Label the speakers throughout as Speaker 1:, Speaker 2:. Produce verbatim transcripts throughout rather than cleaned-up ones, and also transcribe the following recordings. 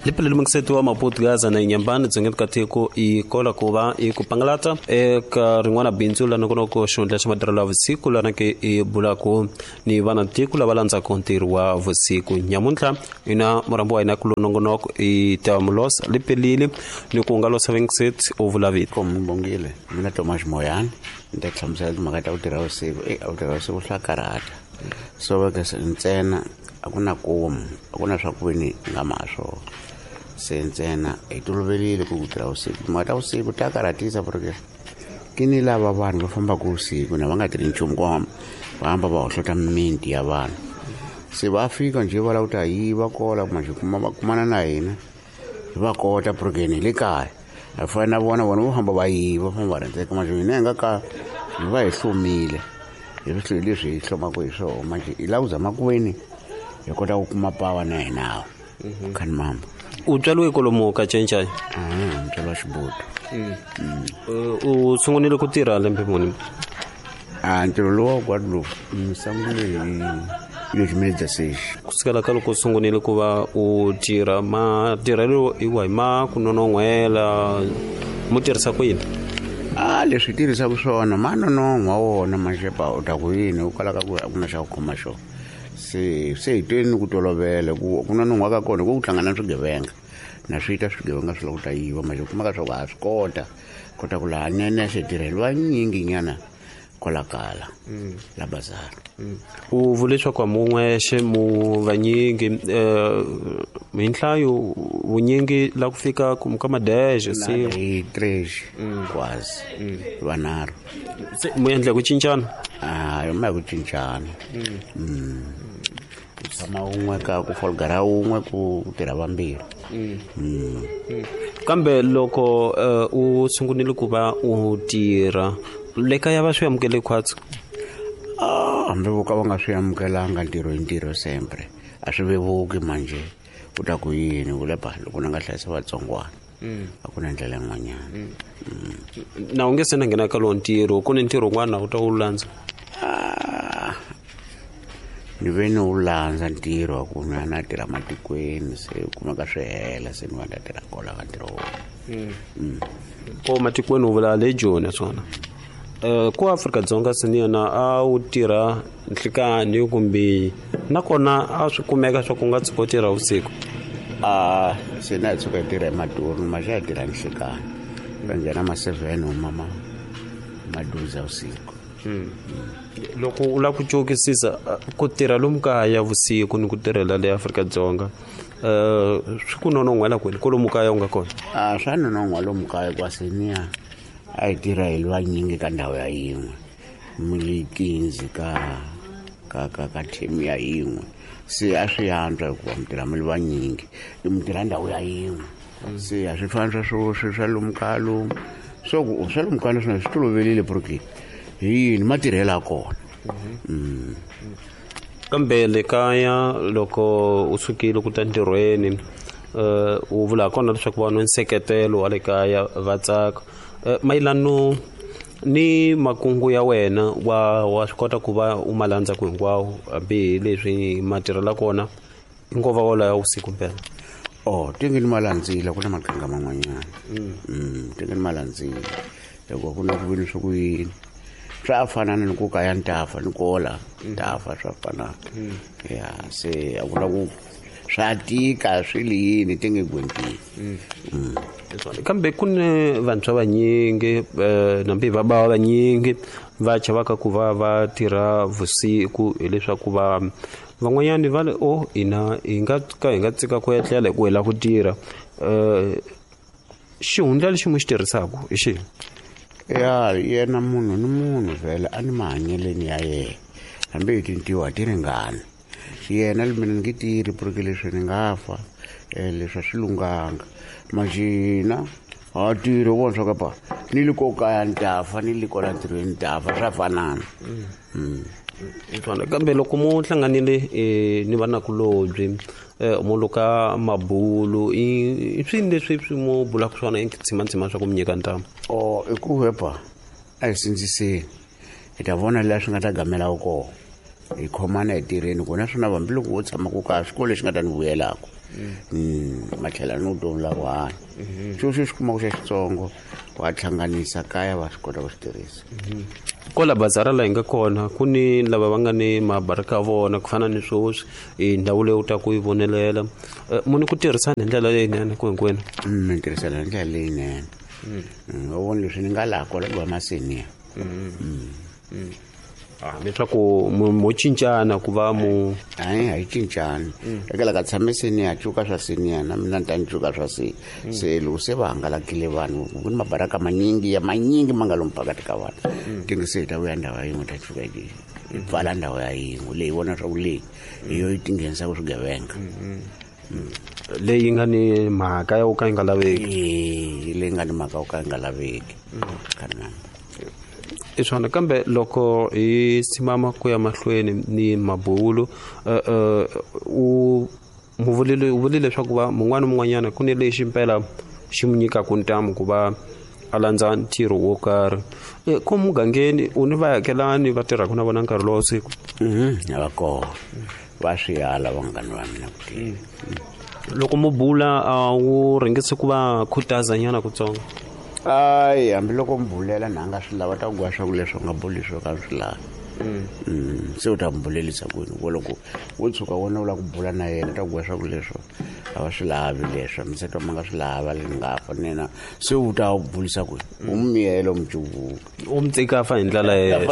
Speaker 1: Liphelele mukiseti wa Maputo Gaza na Inyambani dzongeni ka tiko i kola ku va i ku pangalata eka rin'wana bindzu la nongonoko xihundla xa matirhelo ya vusiku lana ke i bulaku ni vana tiko lava landzaka ntirho wa vusiku. Nyamuntlha ina murambo wa hina ku nongonoko i Tamulos Liphelile ni ku nga losa Vincent u vula vito.
Speaker 2: Kombongile mina Thomas Moyane ni ta hlamusela timhaka ta ku tirha vusiku. E a ku tirha vusiku swa karhata so va ka ntsena a ku na komu a ku na swa ku veni nga ma swona se ntsena hi toloverile ku ku tirha vusiku. Timhaka ta vusiku ta karhatisa porque ke ni lava vanhu va fambaka vusiku na va nga tirhi nchumu ku va hamba va hohlota mimiti ya vanhu se va fika njhe va lava ku ta yiva kola manjhe kuma va kumana na hina hi va kota porque ni le kaya a fana na vona vona vo hamba va yiva famba va rhendzeka manjhe hina hi nga ka hi va hi hlomile hi swilo leswi hi hlomaka hi swona manjhe hi lava ku zama ku veni hi kota ku kuma pawa na hina khani mamba.
Speaker 1: U tswariwe kwalomu ka Cencai?
Speaker 2: Ah, ntswalo wa Xibutu.
Speaker 1: U sungurile ku tirha lembe muni?
Speaker 2: Ah, ntirho lowu wa Guadeloupe ni sungule hi lexi sexi.
Speaker 1: Ku sukela ka loko u sungurile ku va u tirha, matirhelo i wahi ma ku nonon'hwela mu tirhisa ku yini?
Speaker 2: Ah, leswi hi tirhisaka swona ma nonon'hwa wona maxepa u ta ku yini u kalaka ku a ku na xa ku khoma xona se se hi tweni ku tolovela ku ku nonon'hwa ka kona ku ku hlangana na swigevenga na swi ta swigevenga swi lava ku ta yiva manjhe u kumaka swa ku ha swi kota kota ku laha nene se tirheliwa nyingi nyana kwalakala la bazar.
Speaker 1: U vule leswaku a mun'wexe mu vanyingi hi nhlayo vunyingi la ku fika ka madexe se
Speaker 2: hi tres kwazi vanharhu
Speaker 1: se mu endla ku cincana?
Speaker 2: Ah, ma ku cincana. Ku tshama wun'we ka ku folgara wun'we ku tirha vambirhi.
Speaker 1: Kambe loko u sungurile ku va u tirha le kaya va swi amukele khwatsi?
Speaker 2: Ah, hambi vo ka va nga swi amukelanga ntirho hi ntirho sempre a swi vevuki manjhe u ta ku yini u le ba loko na nga hlayisa vatsongwana a ku na ndlela yin'wanyana.
Speaker 1: Na u nge se na nghena ka lowo ntirho ku ni ntirho wun'wana u ta wu landza?
Speaker 2: Ni ve ni wu landza ntirho wa ku na na tirha matikweni se u kumeka swi hela se ni va ta tirha kola ka ntirho wona.
Speaker 1: Ko matikweni u vula le Joni swona? Ku Afrika-Dzonga se ni yena a wu tirha nhlikani kumbe nakona a swi kumeka swa ku nga tshuka u tirha vusiku?
Speaker 2: Ah, se na hi tshuka hi tirha hi maduru maxa hi tirha nhlikani va nghena ma seven huma ma maduza vusiku.
Speaker 1: Loko u lava ku cokisisa ku tirha lomu kaya vusiku ni ku tirhela le Afrika-Dzonga swi ku nonon'hwela kwini kwalomu kaya u nga kona?
Speaker 2: Ah, swa nonon'hwa lomu kaya kwase niya a hi tirha hi vanyingi ka ndhawu ya yin'we mi le kinzi ka ka ka ka team ya yin'we se a swi antswa hikuva mi tirha mi le vanyingi mi tirha ndhawu ya yin'we se a swi fani swa swo swi swa lomu kaya lomu so ku swa lomu kaya naswona swi toloverile porque hi yini matirhelo ya kona.
Speaker 1: Kambe le kaya loko u sukile ku ta ntirhweni u vula kona leswaku vanhu nseketelo wa le kaya va tsaka mayelano ni makungu ya wena wa wa swi kota ku va u ma landza ku hinkwawo hambi leswi matirhelo kona i nkova wolowo ya vusiku mpela?
Speaker 2: Oh, tinge ni ma landzile ku na maqhinga man'wanyana. Tinge ni ma landzile hikuva ku na ku vini swa ku yini swa fanana ni ku kaya ni tafa ni kola tafa swa fanana ya se a ku na ku swa tika swi le yini ti nge gwentini.
Speaker 1: Kambe ku ni vantshwa vanyingi nambi va bava vanyingi va chavaka ku va va tirha vusiku hileswaku va van'wanyani va le o hina hi nga ka hi nga tsika ku etlela hi ku hi lava ku tirha. Xihundla lexi mu xi tirhisaka hi xihi?
Speaker 2: Ya yena munhu ni munhu vhele a ni mahanyeleni ya yena hambi hi tintiho a ti ringani yena mina ni nge tirhi porque leswi ni nga fa leswi a swi lunghanga majina ha tirhi u vona swa ka pa ni le ko kaya ni ta fa ni le kola ntirhweni ni ta fa swa fanana.
Speaker 1: Kambe loko mu hlanganile ni vanakulobye mu luka mabulu i swini leswi swi mu bulaka swona i tshimantsima swa ku mi nyika ntamu?
Speaker 2: O i ku hepa a hi sindziseni hi ta vona laha swi nga ta gamela kona Hi khomana hi tirheni ku naswona hambiloko wo tshama ku kaya xikolo lexi nga ta ni vuyelaka matlhela ni vutomi la ku hanya xo xo xi kumaka xa xitsongo wa hlanganisa kaya va swi kota ku swi tirhisa.
Speaker 1: Kwala bazara laha hi nga kona ku ni lava va nga ni mabaraka vona ku fana ni sweswi i ndhawu leyi u ta ku yi vonelela munhu ku tirhisana hi ndlela leyinene ku hinkwenu.
Speaker 2: Ni tirhisana hi ndlela leyinene. Va vona leswi ni nga laha kwala ku va maseniya
Speaker 1: leswaku mo cincana ku va mu
Speaker 2: hayi a yi cincani eka la ka tshame seniya cuka swa seniya na mina ni ta ni cuka swa se se loko se va hangalakile vanhu ku ni mabaraka manyingi ya manyingi ma nga lomu phakati ka vanhu tingi se hi ta vuya ndhawu ya yin'we ta cuka yi pfala ndhawu ya yin'we leyi vona swa ku leyi hi yo yi tinghenisaka swigevenga
Speaker 1: leyi nga ni mhaka ya ku ka yi nga laveki
Speaker 2: e leyi nga ni mhaka yo ka yi nga laveki kana
Speaker 1: i swona. Kambe loko hi simama ku ya mahlweni ni mabulo u muvulile u vulile leswaku va mun'wana mun'wanyana ku ni lexi mpela xi mu nyikaka ntamu ku va a landza ntirho wo karhi ko mugangeni u ni vaakelani va tirhaka na vona nkarhi lowa siku.
Speaker 2: A va kona va swi ala vanghana va mina ku tirha.
Speaker 1: Loko mu bula a wu rhangisi ku va khutazanyana kutsongo?
Speaker 2: Ayi hambiloko mi bulela na nga swi lava ta ku gwa swa ku leswi u nga buli swo ka swi lavi se u ta mi bulelisa kwini ku loko wo tshuka wona u lava ku bula na yena ta ku gwa swa ku leswo a va swi lavi leswo miseta ma nga swi lava le nga fa nena se u ta bulisa kwini u mi miyela u mi cuvuka
Speaker 1: u mi tsika fa hi ndlela
Speaker 2: yena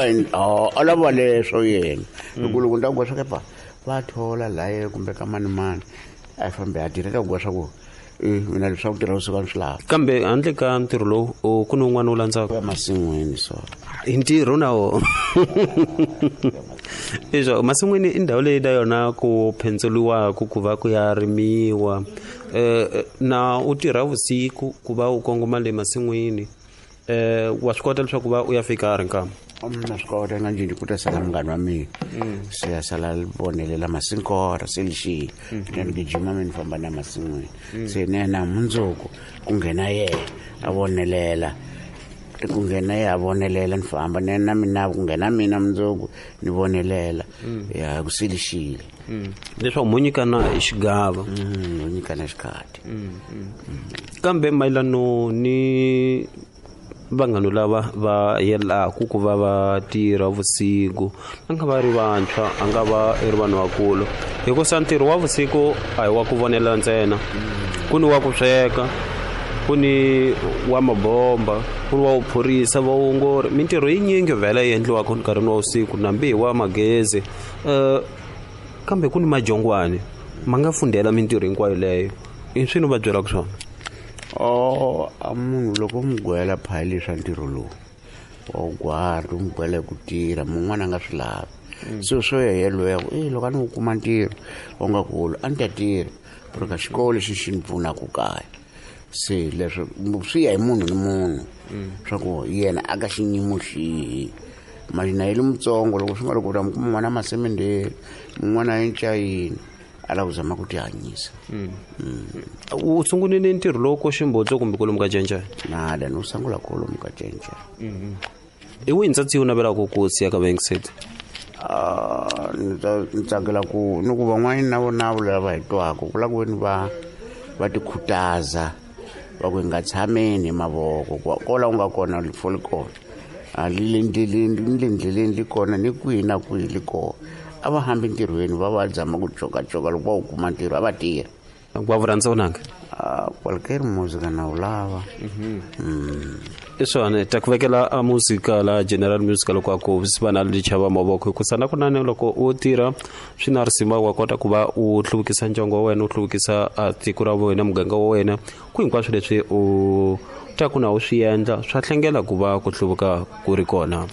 Speaker 2: a lava leswo yena hi ku loko ni ta ku gwa swa kepa va thola laye kumbe ka mani mani a yi fambi a tirha ta ku gwa swa ku mina leswaku tirha vusiku a ni swi lavi.
Speaker 1: Kambe handle ka ntirho lowu ku ni wun'wana wu landzaka
Speaker 2: masin'wini so
Speaker 1: i ntirho na wona leswaku masin'wini i ndhawu leyi na yona ku phendzeliwaka ku va ku ya rimiwa um na u tirha vusiku ku va u kongoma le masin'wini um wa swi kota leswaku va u ya fika a ri nkama?
Speaker 2: Na swi kota nga njhini ku ta sala munghana wa mina se ya sala vonelela masinkora se lexi ni gijima mi ni famba na masin'wini se ni yena mundzuku ku nghena yena a vonelela ku nghena yena a vonelela ni famba ni na mina ku nghena mina mundzuku ni vonelela ya ku se lexile
Speaker 1: leswaku mo nyikana hi xigava
Speaker 2: mo nyikana xikhati.
Speaker 1: Kambe mayelano ni vanghana lava va yelaku ku va va tirha vusiku a nga va ri vantshwa a nga va ri vanhu vakulu hikusa ntirho wa vusiku a hi wa ku vonela ntsena ku ni wa ku sweka ku ni wa mabomba ku ni wa vuphorisa vaongori mintirho yinyingi vhele yi endliwaka nkarhini wa vusiku nambi hi wa magezi um kambe ku ni majongwani ma nga fundhela mintirho hinkwayo leyo i swi ni va byelaka swona?
Speaker 2: Oh a munhu loko mu gwela phayili swa ntirho lowu wa wu gwari u mu gwela hi ku tirha mun'wana a nga swi lavi so swo ya yelweyo e loko a ni wu kuma ntirho wa nga kulu a ni ta tirha ku ri ka xikolo lexi xi ni pfunaka kaya se leswo swi ya hi munhu ni munhu swa ku yena a ka xiyimo xihi mali na yele mutsongo loko swi nga loko u ta mi kuma n'wana masemendeni mun'wana a encayini a lava ku zama ku tihanyisa.
Speaker 1: U sungulile ntirho lowu ko Ximbodzo kumbe kwalomu ka Cencene?
Speaker 2: Nada ni wu sungula kwalomu ka Cencene.
Speaker 1: I wihi ntsatsi u navelaka ku siya ka vayengiseti?
Speaker 2: Ni ni tsakela ku ni ku van'wani na vona lava hi twaka ku lava ku veni va va tikhutaza va ku hi nga tshameni hi mavoko kola u nga kona rifo li kona a li le ndleleni ni le ndleleni li kona ni kwihi na kwihi li kona a va hambi ntirhweni va va zama ku cokacoka loko va wu kuma ntirho a va tirha.
Speaker 1: Wa vu rhandza vunanga?
Speaker 2: Kwalukeri muzika na wu lava.
Speaker 1: I swona ta ku vekela a muzika la general music loko a ku swi va na lichava mavoko hikusa na kunene loko u tirha swi na risima wa kota ku va u hluvukisa ndyangu wa wena u hluvukisa tiko ra wena muganga wa wena ku hinkwaswo leswi u ta ku na u swi endla swa hlengela ku va ku hluvuka ku ri kona.